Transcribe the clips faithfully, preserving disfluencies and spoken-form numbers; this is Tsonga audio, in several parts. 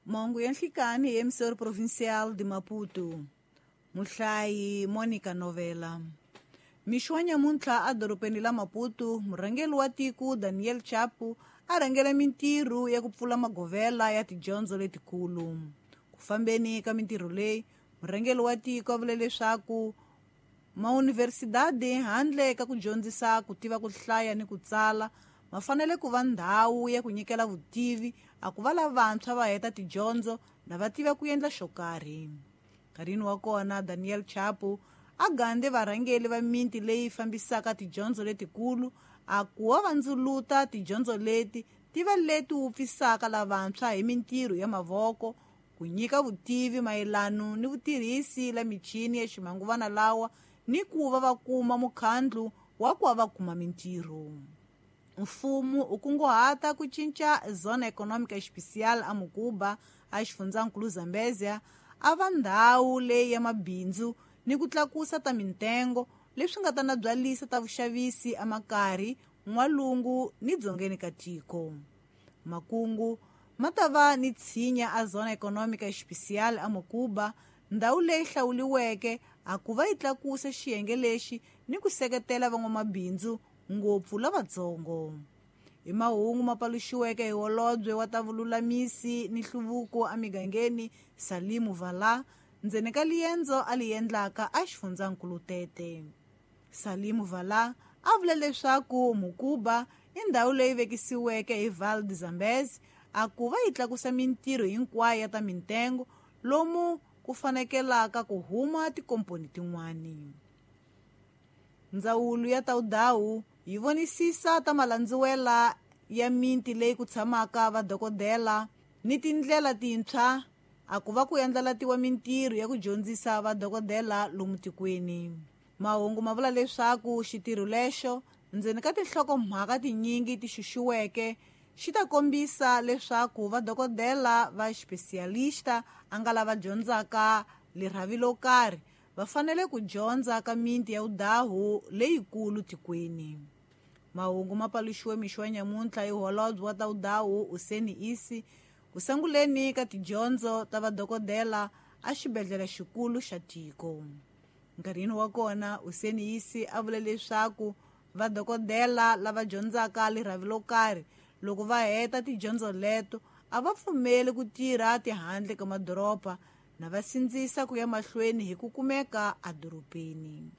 Mahungu ya nhlikani hi emissora provincial de Maputo. Muhlayi Monica Novela. Mixo wa nyamuntlha edorobeni la Maputo, murhangeri wa tiko Daniel Chapo a rhangela mintirho ya ku pfula magovela ya tidyondzo letikulu. Ku fambeni ka mintirho leyi, murhangeri wa tiko a vule leswaku mauniversidadi handle ka ku dyondzisa ku tiva ku hlaya ni ku tsala ma fanele ku va ndhawu ya ku nyikela vutivi a ku va lavantshwa va heta tidyondzo na va tiva ku endla xo karhi. Nkarhini wa kona Daniel Chapo a gande varhangeri va miti leyi fambisaka tidyondzo letikulu a ku va vandzuluta tidyondzo leti ti va leti wupfisaka lavantshwa hi mintirho ya mavoko, ku nyika vutivi mayelano ni vutirhisi la michini ya ximanguvana lawa ni ku va va kuma mukhandlu wa ku va va kuma mintirho. Mfumo u kunguhata ku cinca Zona Econômica Especial a Mukuba a xifundzankulu Zambezia a va ndhawu leyi ya mabindzu ni ku tlakusa ta mintengo leswi nga ta nabyalisa ta vuxavisi emakari, n'walungu ni dzongeni ka tiko. Makungu ma ta va ni tshinya a Zona Econômica Especial a Mukuba, ndhawu leyi hlawuriweke a ku va yi tlakusa xiyenge lexi ni ku seketela van'wamabindzu ngopfu lavatsongo. Hi mahungu ma paluxiweke hi holobye wa ta vululamisi ni nhluvuko emigangeni Salimu Vala ndzeni ka liendzo a li endlaka a xifundzankulu Tete. Salimu Vala a vule leswaku Mukuba i ndhawu leyi vekisiweke hi Val de Zambezi a ku va yi tlakusa mintirho hinkwayo ya ta mintengo lomu ku fanekelaka ku huma tikomponi tin'wani. Ndzawulo ya Taudawu yi vonisisa ta malandziwela ya miti leyi ku tshamaka vadokodela ni tindlela tintshwa a ku va ku endlalatiwa mintirho ya ku dyondzisa vadokodela lomu tikweni. Mahungu ma vula leswaku xitirho lexo ndzeni ka tinhlokomhaka tinyingi ti xuxiweke xi ta kombisa leswaku vadokodela va xipesiyalista a nga lava dyondzaka lirhavi lo karhi va fanele ku dyondza ka miti ya vudahu leyikulu tikweni. Mahungu ma paluxiwe mixo wa nyamuntlha hi holobye wa ta vudahu Useni Isi ku sunguleni ka tidyondzo ta vadokodela a xibedhlele xikulu xa tiko. Nkarhini wa kona Useni Isi a vule leswaku vadokodela lava dyondzaka lirhavi lo karhi loko va heta tidyondzo leto a va pfumeli ku tirha tihandle ka madoroba na va sindzisa ku ya mahlweni hi ku kumeka edorobeni.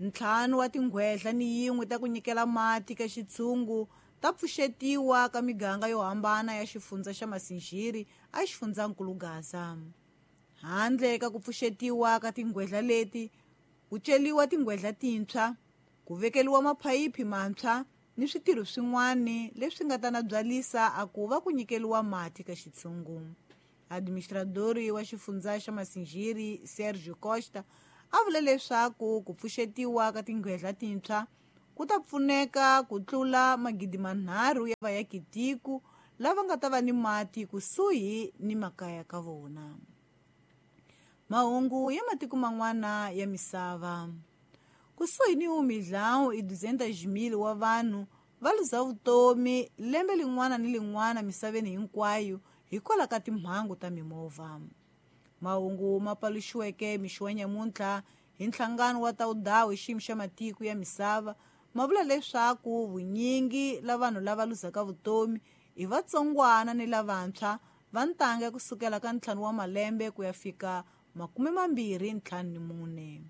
Ntlhanu wa tinghwedla ni yin'we ta ku nyikela mati ka xitshungu ta pfuxetiwa ka miganga yo hambana ya xifundza xa Masinjiri a xifundzankulu Gaza. Handle ka ku pfuxetiwa ka tinghwedla leti, ku celiwa tinghwedla tintshwa, ku vekeliwa maphayiphi mantshwa ni switirho swin'wana leswi nga ta nabyalisa a ku va ku nyikeliwa mati ka xitshungu. Administradori wa xifundza xa Masinjiri Sergio Costa a vule leswaku ku pfuxetiwa ka tinghwedla tintshwa ku ta pfuneka ku tlula magidi manharhu ya vayakitiko lava nga ta va ni mati kusuhi ni makaya ka vona. Mahungu ya matiko man'wana ya misava. Kusuhi ni um milhão e duzentos mil wa vanhu va luza vutomi lembe lin'wana ni lin'wana misaveni hinkwayo hikwalaho ka timhangu ta mimovha. Mahungu ma paluxiweke mixo wa nyamuntlha hi nhlangano wa Taudawu hi xiyimo xa matiko ya misava ma vula leswaku vunyingi la vanhu lava luzaka vutomi i vatsongwana ni lavantshwa va ntanga kusukela ka ntlhanu wa malembe ku ya fika makume mambirhi ntlhanu ni mune.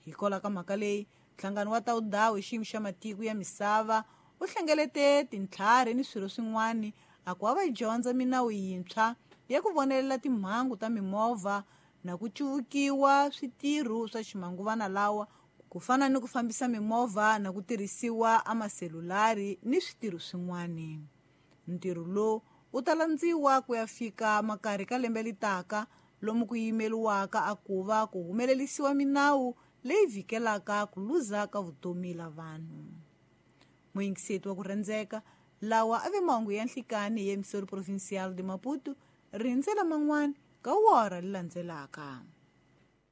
Hikwalaho ka mhaka leyi, nhlangano wa Taudawu hi xiyimo xa matiko ya misava u hlengelete tintlhari ni swirho swin'wana a ku va va dyondza minawu yintshwa ya ku vonelela timhangu ta mimovha na ku cuvukiwa switirho swa ximanguvana lawa ku fana ni ku fambisa mimovha na ku tirhisiwa amaselulari ni switirho swin'wana. Ntirho lowu wu ta landziwa ku ya fika makarhi ka lembe litaka lomu ku yimeliwaka a ku va ku humelerisiwa minawu leyi vhikelaka ku luza ka vutomi la vanhu. Muyingiseti wa ku rhandzeka, lawa a ve mahungu ya nhlikani hi emissora provincial de Maputo, rindzela man'wana ka wora li landzelaka.